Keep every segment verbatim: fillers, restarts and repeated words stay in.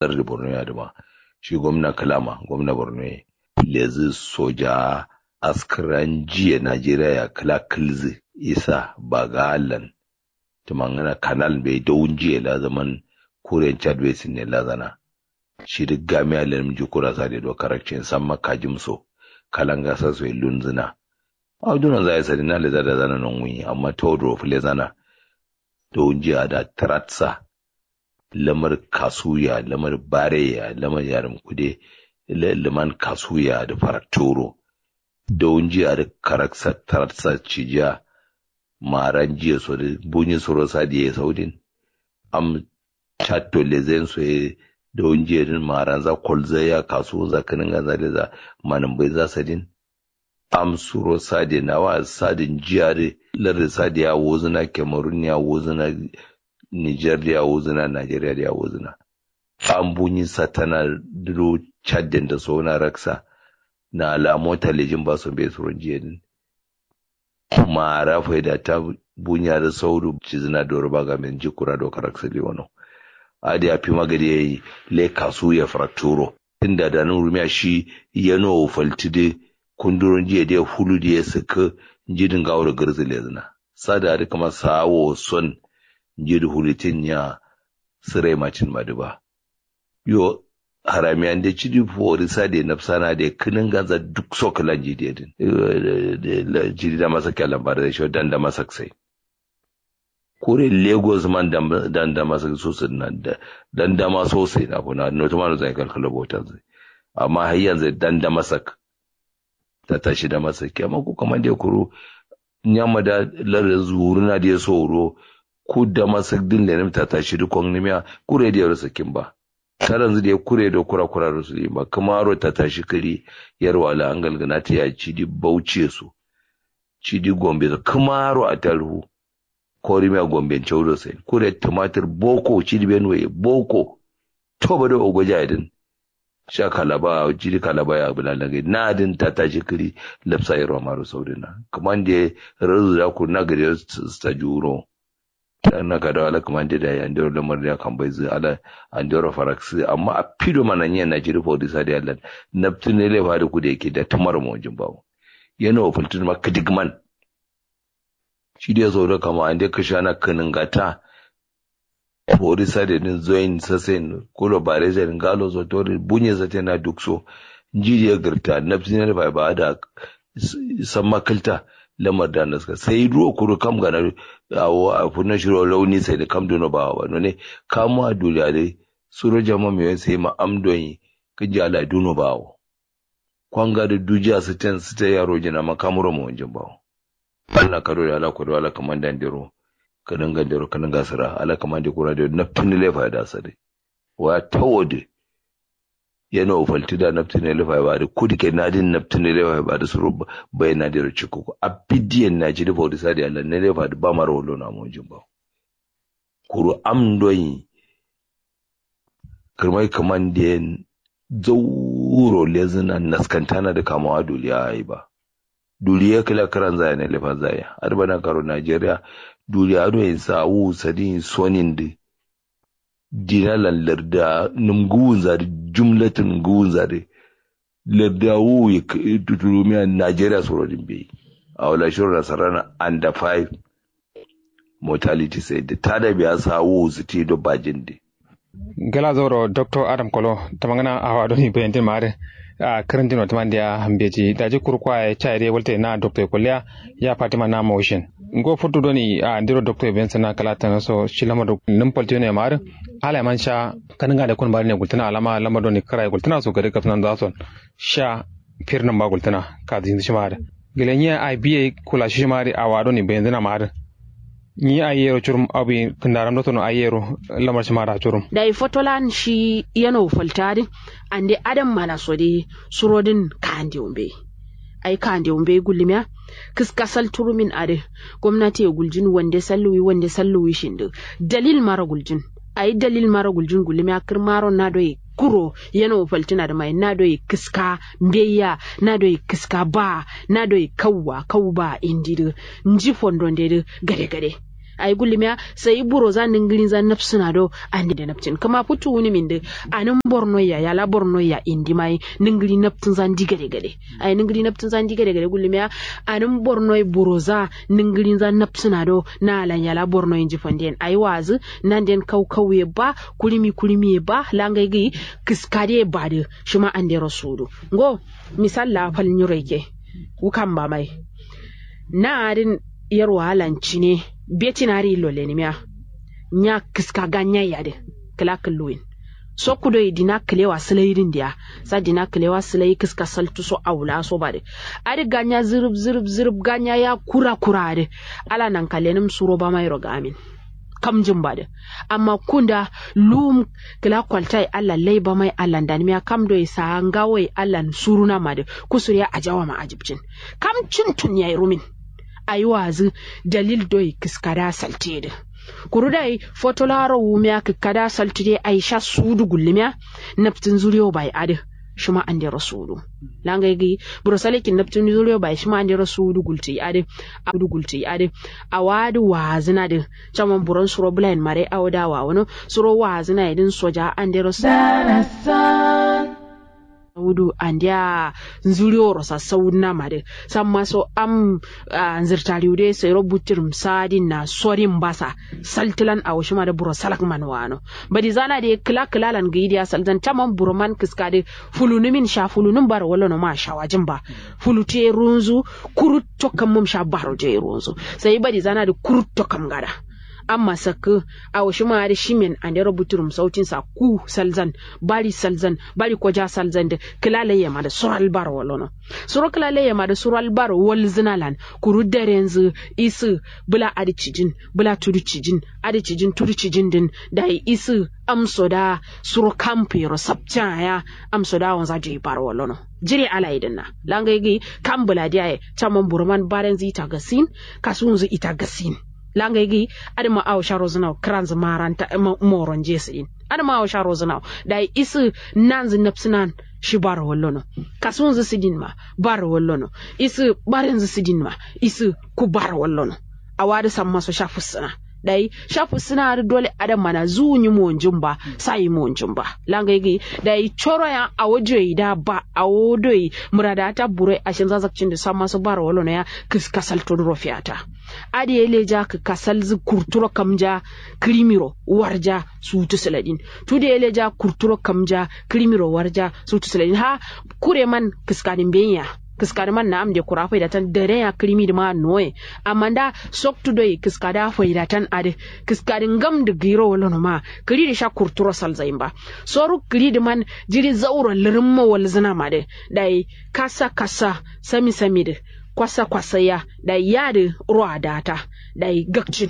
Lardi borno ye adǝ ma shi gomna kǝla ma gomna borno ye. Lezǝ soja askǝra njiye najeriya ya kǝla kǝlzǝ isa baga allan. Tǝmangǝna kanal mbeyi dau njiye la zaman kuren chad basin ne lazana. Shidǝ gamiya lenǝm jukura sade do karakcin samma kajim so kalanga saso ye lunzǝna. Au duno zaye sadina leza dazana nonguyi amma toduro fǝlezana. Dau njiye ada tǝratsa lamar kasuya lamar bareya lamar yaram kude. Lǝman kasuya dǝ farattoro. Dau njiye adǝ karaksa tǝratsa cijiya. Ma'ara njiye so dǝ bunyi suro sadiye saudin. Am chatto lezen so ye dau njiye dǝn ma'aranza kolzaiya kasuwunza kǝnǝnganza leza manǝmbainza sadin. Am suro sade nawa sade njiya dǝ lardǝ sade ya wuzǝna kemarun ya wuzǝna. Nijar dǝ ya wuzǝna najeriya dǝ ya wuzǝna. Am bunyi satana duro chadden da sona raksa. Na ala mota lejin ba so mbe suro njiye dǝn. Ma'ara faida ta bunya dǝ saudu cizǝna doro ba gamen jikura do karaksa liwono. Adi ya fima gade yayi le kasu ya frakturo. Tunda da nǝm rumiya shi yano faltǝ dǝ kunduro njiye dǝ ya fulu dǝ ya sǝkkǝ. Nji dǝ ngawo do gǝrzǝ lezǝna. Sada adǝ kǝma sa'a wo son nji dǝ fulutin ya. Sǝrai macin ma dǝ ba. Yo haramiya nde cidi fori sade nafsana de kǝnǝnganza duk so kǝla nji de dǝn. Cidi damasak ya lambara de sho dan damasak sai. Kure lagos man dan damasak so sǝdǝna. Dan dama so sai na funa notuma no zai kalkalo botanzai. Amma hayyanzai dan damasak. Tatashi damasak ya amma ku kamande kuru. Nyamma da lardǝ zuruna dǝ ye soro. Ku damasak dǝn lenǝm tatashi dǝ kongnǝmiya kure dǝ yero sakin ba. Taranzǝ dǝ ye kure do kura kura do sǝdin ba kǝmaro tatashi kǝri. Yarwa la angal gǝnatǝ ya cidi bauchi ye so. Cidi gombe so kǝmaro attaruhu. Korimiya gombe nchau do sai kure tumatur boko cidi benue ye boko. Toba do ogoja ye dǝn. Sha kalaba awo jiri kalaba ya bǝla langai nadǝn tatashi kǝri. Lafsa yerwa maro saudǝna kǝmande. Rarzu da kurna gade yo sǝta juwuro. Tana kadawa ala kǝmande da yi andero lamar da ya kambaizǝ ala. Andero faraksǝ amma afido mana nyiya najiri fodisa da yallan. Naftǝ nele fadǝ kude yake da tǝmaro mawonjin bawo. Yano fǝltǝ dǝma kǝdǝgman. Shi dai sau do kama ande kǝshana kǝnǝngata. Fori sade dǝn zoin sasain kulo bare zain ngalo so tori bunye saten na duk so. Nji dai gǝrta nafsi ne da fai ba da. Samma kǝlta lamar da naska sai duro kuru kam gana. Awo a furna shiro launi sai da kam duno ba wa none. Kamuwa duriya dai suro jama miyon sai ma am don yi. Kǝnja ala duno ba wa. Kwanga dǝ dujiya sǝten sǝte yaro jina ma kamuro mawonjin bawo. Ala kado da ala kodo ala kǝmande andero. Kǝnǝnga andero kǝnǝnga sǝra ala kǝmande kura dero naftǝ nǝ lefa da sare. Wa tawo dǝ. Yano faltǝ da naftǝ nǝ lefa ba dǝ kudǝ ke nadin naftǝ nǝ lefa ba dǝ suro. Bayi nadero cikko ko afidiyen naci dǝ fodisa dǝ ala nǝ lefa dǝ ba maro wallo na mawonjin bawo. Kuru am ndonyi. Kǝrmai kǝmande yen zauro lezǝna naskantana dǝ kamawa duriya ye ba. Duriya kǝla kǝranza ye na lefanza ye adǝ bana karo najeriya. Duriya do yen sa wu sadin sonin dǝ. Dinalan larda nǝm ngǝwunza dǝ jumlatǝn ngǝwunza dǝ. Larda wu ye tuturumiya najeriya suro dǝ mbeyi. Awo la shiro nasarana anda five. Mortality sai dǝ tada biya sa wu sǝti do bajin dǝ. Gala zauro doctor adam kolo tamangana awa doni bayantin ma adǝ. Kǝrǝntin wa tǝmande ya mbeji daji kuru kwa ye chai dǝ ye walte na doctor ye kolliya. Ya fatima na mawushin ngo futu doni a ndiro doctor ye bayantin na kala tana so shi lamar duk nǝm paltiyo ne ma adǝ. Ala ye man sha kanǝnga dǝ kun bari ne gultǝna alama lamar doni kǝra ye gultǝna so gade kafsǝnan za son. Sha fir nǝm ba gultǝna kazinzǝ shi ma adǝ. Gǝle nyi ai biye kula shi ma dǝ awa doni bayanzǝna ma adǝ. Nyi ai yero curum abi kǝndaram do sono ai yero. Lamar shi ma da curum. Dayi fotolan shi yano falta dǝ. Ande adam mana so dǝ surodǝn kande wumbe. Ai kande wumbe gullimiya. Kǝska sal turumin adǝ. Gomnati ye guljin wande salluwi wande salluwi shindǝ. Dalil maro guljin. Ai dalil maro guljin gullimiya kǝrmaro na doye. Kuro yano faltǝna dǝ mai na doye kǝska. Mbeya na doye kǝska ba. Na doye kauwa kau ba indi dǝ. Nji fondo nde dǝ gade gade. Ayi gullimiya sai buroza ninglinza nabsina do. Ande nabtin kǝma futu wuni mindǝ. Anǝm bornoya yala bornoya indima ye ningli nabtinza ndi gade gade. Ayi ningli nabtinza ndi gade gade gullimiya. Anǝm bornoye buroza ninglinza nabsina do. Na alan yala bornoye nji fanden ayi wazǝ. Nanden kau kau ye ba kulimi kulimi ye ba langai gǝyi. Kǝskade ye badǝ shima andero sudu. Ngo misal la fal nyiro yike. Wukan bamai na adin yarwa alan cine. Betin ari illo lenimiya. Nya kǝska ganyai adǝ kǝla kǝlluwin. Sokku doi dina kǝlewa sǝlaidin diya. Sa dina kǝlewa sǝlai kǝska saltu so awula so badǝ. Adǝ ganya zǝrǝb zǝrǝb zǝrǝb ganya ya kura kura adǝ. Ala nanka lenǝm suro bamairo gamin. Kamjin badǝ. Amma kunda luwum kǝla kwaltai allan lai bamai allan danimiya kam doi sa'a ngawo ye allan suruna madǝ. Kusuriya ajawa ma ajibcin. Kam cintun yayi rumin. Ayi wazǝ dalil doi kǝskada saltǝ ye dǝ. Kuru dai foto laro wumiya kǝkkada saltǝ de ayi sha sudu gullimiya. Nabtǝ nzuriyo bai adǝ. Shima andero sudu. Langai gǝyi buro salekin nabtǝ nzuriyo bai shima andero sudu gultǝ yi adǝ. Awa adǝ wazǝna dǝ. Caman buron suro bǝlayin mare awo da wawono. Suro wazǝna ye dǝn soja andero sudu. Saudu andiya nzuriworo sa sauduna madǝ. Samma so am nzǝrtariwu dǝ ye sairo butturum sadin na sorin basa. Saltǝlan awo shima dǝ buro salak man wano. Badizana dǝ ye kǝla kǝlalan gǝyi dǝ ya salzan caman buro man kǝska dǝ. Fulunǝmin sha fulunǝm baro wallono ma shawajin ba. Fulutǝ ye runzu. Kurutto kammum sha baro dǝ ye runzu. Sai badizana dǝ kurutto kam gada. Amma sakkǝ. Awo shima adǝ shimen andero butturum sautin sa ku salzan. Bari salzan bari koja salzan dǝ kǝla laiyema dǝ sural baro wallono. Suro kǝla laiyema dǝ sural baro walzǝna lan. Kuru darenzu isǝ. Bǝla adǝ cijin bǝla tudu cijin. Adǝ cijin tudu cijin dǝn. Dayi isǝ amso da suro kampu yero sapcin aya. Amso da wanza joyi baro wallono. Jire alayi dǝnna langai gǝyi. Kam bǝla diyaye caman buroman barenzu ita gasin. Kasuwunzu ita gasin. Langai gǝyi. Adǝma awo sha rozǝna wo kǝranzǝ maranta. Moronje sǝdin. Adǝma awo sha rozǝna wo. Dayi isǝ nanzǝ nabsǝnan. Shi baro wallono. Kasuwunzǝ sǝdin ma. Baro wallono. Isǝ barenzu sǝdin ma. Isǝ ku baro wallono. Awa dǝ samma so sha fussǝna. Dayi sha fussǝna adǝ dole adǝ mana zuwu nyi monjin ba. Sayi monjin ba. Langai gǝyi. Dayi coro ya awo joyi da ba awo doyi murada ta buroi ashin zazakcin dǝ samma so baro wallono ya. Kǝska salto duro fiyata. Adǝ ye leja kǝ kasalzǝ kurturo kamja. Kǝrimiro warja. Sutu sǝladin. Tudu ye leja kurturo kamja. Kǝrimiro warja. Sutu sǝladin ha. Kure man kǝskadin beyiya. Kǝskadǝ man na'am de kura faidatan dare ya kǝrimi dǝ ma noye. Amma nda soktu doi kǝskadǝ a faidatan adǝ. Kǝskadǝ ngam dǝ gǝyiro wallono ma. Kǝri dǝ sha kurturo salzayin ba. Soru kǝri dǝ man. Jiri zauro lǝrǝmma walzǝna ma dǝ. Dayi kasa kasa. Sami sami dǝ. Kwasa kwasa ya. Dayi yadǝ. Ro adata. Dayi gakcin.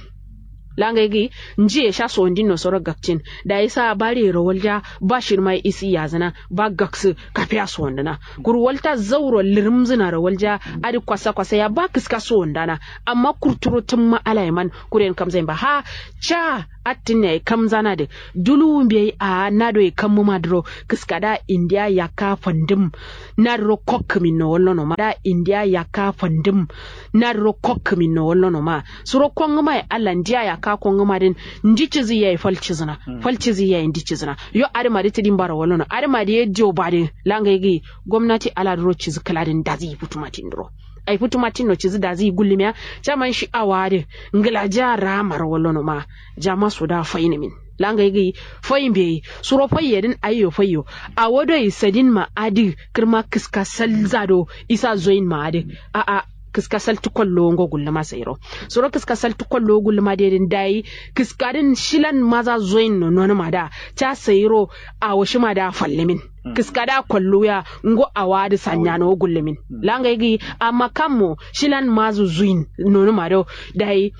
Langai gǝyi. Njiye sha sondin no soro gakcin. Dayi sa bariyero walja. Ba shirma ye isi yazǝna. Ba gaksǝ. Kafiya sondǝna. Kuru walta zauro lǝrǝmzǝnaro walja. Adǝ kwasa kwasa ya ba kǝska sondana. Amma kurturo tǝmma alaye man. Kuren kamzayin ba ha. Ca. Attǝn yayi kamzana dǝ. Duluwu mbeyi a'a nado ye kammǝma dǝro. Kǝskada indiya yakka fandǝm. Nadǝro kokkǝmin no wallono ma da indiya yakka fandǝm. Nadǝro kokkǝmin no wallono ma. Suro kongǝma ye allah ndiya yakka kongǝma dǝn. Ndi cizǝ yayi fal cizǝna. Fal cizǝ yayi ndi cizǝna. Yo adǝma dǝ tǝdin baro wallono adǝma dǝ ye diyo badǝ. Langai gǝyi. Gomnati ala dǝro cizǝ kǝla dǝn dazi futuma tin dǝro. Ai futuma tin no cizǝ dazi gullimiya. Caman shi awa adǝ. Ngǝla ja ramaro wallono ma. Jama so da fainǝmin. Langai gǝyi. Fai mbeyi. Suro fai ye dǝn ayyo faiyo. Awo doi sadin ma adǝ. Kǝrma kǝska salza do. Isa zoyin ma adǝ. A'a. Kǝska saltǝ kollo ngo gullǝma sairo. Suro kǝska saltǝ kollo gullǝma dǝ ye dǝn dayi. Kǝska dǝn shilan maza zoyin no nonǝma da. Ca sairo. Awo shima da fallimin. Kǝskada kolluya. Ngo awa adǝ sanyano gullumin. Langai gǝyi. Amma kammo. Shilan mazu zuyin. Nonuma do. Dayi.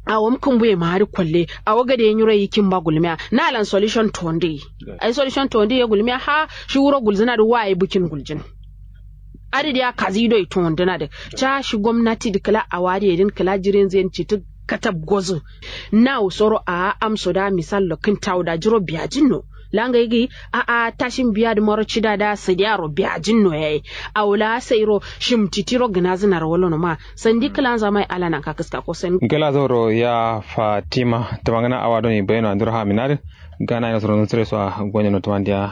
Awom kǝmbuye ma adǝ kolle. Awo gade nyiro yikin ba gullumiya. Nalan solution tonde. Ai solution tonde ye gullumiya ha. Shi wuro gulzǝna dǝ waye bukin guljin. Adǝ diya kazi doi tondǝna dǝ. Ca shi gomnati dǝ kǝla awa adǝ ye dǝn kǝla jirenzu yen citǝ. Katab gozǝ. Nawu soro a'a amso da misallo kǝntawu da jiro biyajin no. Langai gi a'a tashin biya dǝ maro cida da sadiya ro biya jin no yayi. Awo la sai ro shim titi ro gǝna zǝna ro wallo no ma. Sandi kǝlanza mai ala nanka kǝska ko san. Ngala zauro ya fatima tǝmangǝna awa doni bayano andiro ha minadǝ. Gana ino suro nusure so a gonye no tǝmandiya.